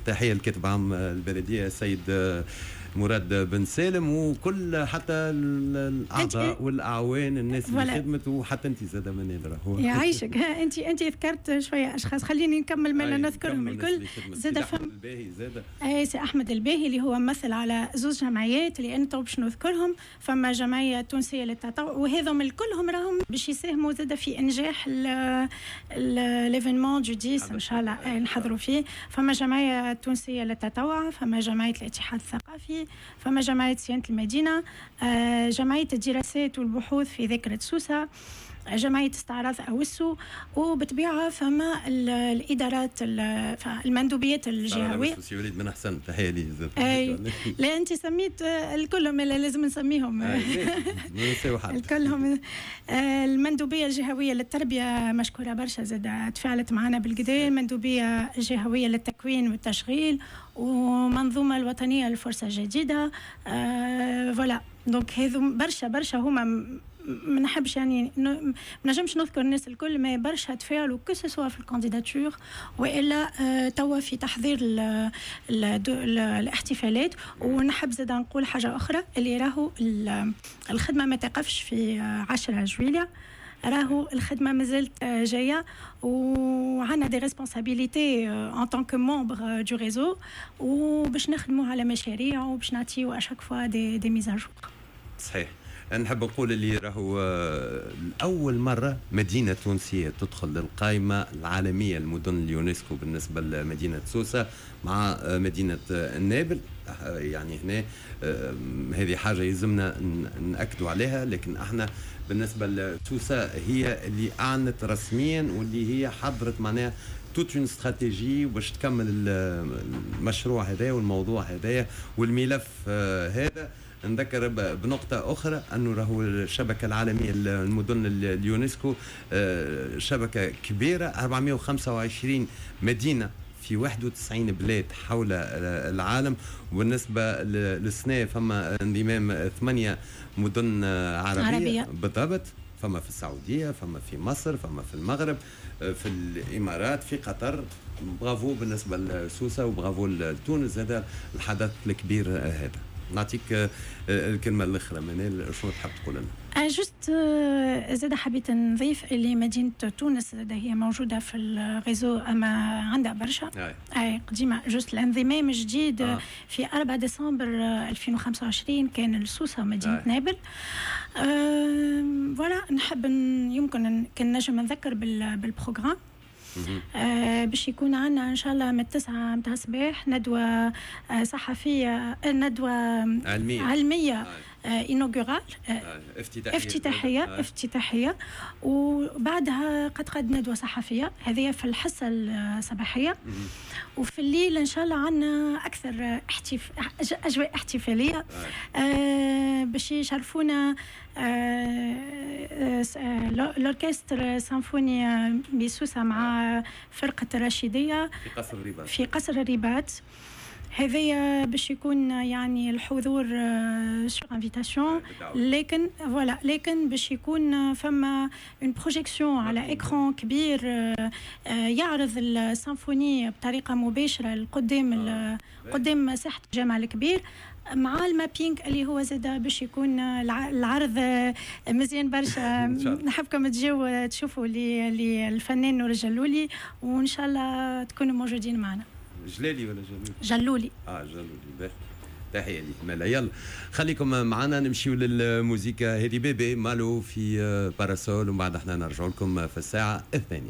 تحية للكاتب عام البلدية السيد مراد بن سالم، وكل حتى الاعضاء والاعوان، الناس اللي خدمت، وحتى انت زاد منال راهو. يعيشك. انت ذكرت شوية اشخاص، خليني نكمل ما نذكرهم الكل. زاد فهم الباهي زاد. اي، سي احمد الباهي اللي هو ممثل على زوج جمعيات اللي انت باش نذكرهم. فما جمعية تونسية للتطوع، وهذم الكلهم راهم باش يساهموا زاد في انجاح l'événement du 10 ان شاء الله نحضروا فيه. فما جمعية تونسية للتطوع، فما جمعية الاتحاد الثقافي، فما جمعية صيانة المدينه، جمعية الدراسات والبحوث في ذاكره سوسه، جمعية استعراض أوسو، وبطبيعة فما الإدارات، المندوبيات الجهوية. سي وليد من أحسن، تحية لي. أي لا، أنت سميت الكل، لازم نسميهم الكلهم. المندوبية الجهوية للتربية مشكورة برشا، زاد تفاعلت معنا بالقدا، المندوبية الجهوية للتكوين والتشغيل، ومنظومة الوطنية للفرصة الجديدة. voilà، donc هذو برشا برشا هما، ما نحبش يعني ما نجمش نذكر الناس الكل، mais برشا تفاعلوا que ce soit في ال candidature والا توا في تحضير ال ال ال الاحتفالات. ونحب زاد نقول حاجة اخرى، اللي راهو الخدمة ما تقفش في 10 جويليا، راهو الخدمة مازالت جايه، وعندنا des responsabilités en tant que membre du réseau، وباش نخدموا على مشاريع وباش نعطيو à chaque fois des mises à jour. صحيح، نحب نقول اللي راهو أول مرة مدينة تونسية تدخل للقائمة العالمية المدن اليونسكو بالنسبة لمدينة سوسة مع مدينة النابل. يعني هنا هذه حاجة يلزمنا نأكدوا عليها، لكن احنا بالنسبة لسوسة هي اللي أعلنت رسميا واللي هي حضرت معناها toute une stratégie باش تكمل المشروع هذا والموضوع هذا والملف هذا. نذكر بنقطة أخرى أنه راهو الشبكة العالمية للمدن اليونسكو شبكة كبيرة، 425 مدينة في 91 بلاد حول العالم. وبالنسبة للسنة فما انضمام ثمانية مدن عربية، عربية. بالضبط، فما في السعودية، فما في مصر، فما في المغرب، في الإمارات، في قطر. برافو بالنسبة لسوسة وبرافو لتونس، هذا الحدث الكبير هذا. نعطيك الكلمة الأخرى منال، شو تحب تقول لنا؟ juste زاد حبيت نضيف اللي مدينة تونس زاد هي موجودة في ال réseau، أما عندها برشا، أي قديمة، juste الانضمام الجديد في 4 ديسمبر 2025 كان السوسة مدينة نابل. Voilà، نحب يمكن كان نجم نذكر بال programme باش يكون عندنا ان شاء الله من 9 متاع الصباح ندوه صحفيه، ندوه علميه. علمية inaugurale. افتتاحيه. افتتاحيه. افتتاحيه، وبعدها قد قد ندوه صحفيه، هذه في الحصة الصباحيه. وفي الليل ان شاء الله عندنا اكثر اجواء احتفاليه، باش يشرفونا l'orchestre symphonie بسوسه مع فرقه الرشيديه. في قصر الرباط. في قصر الرباط. هذايا باش يكون يعني الحضور sur invitation، لكن voilà، لكن باش يكون فما une projection على écran كبير يعرض السيمفوني بطريقة مباشرة قدام قدام ساحة الجامع الكبير مع ال mapping اللي هو زاد باش يكون العرض مزيان برشا. نحبكم تجيو تشوفوا اللي الفنان نور الجلولي، وان شاء الله تكونوا موجودين معنا. جلالي ولا جلولي؟ جلولي. اه جلولي، باهي، تحية لي مالا. يلا خليكم معنا، نمشيو للموزيكا هذه، بيبي مالو في parasol، ومن بعد احنا نرجع لكم في الساعة 2.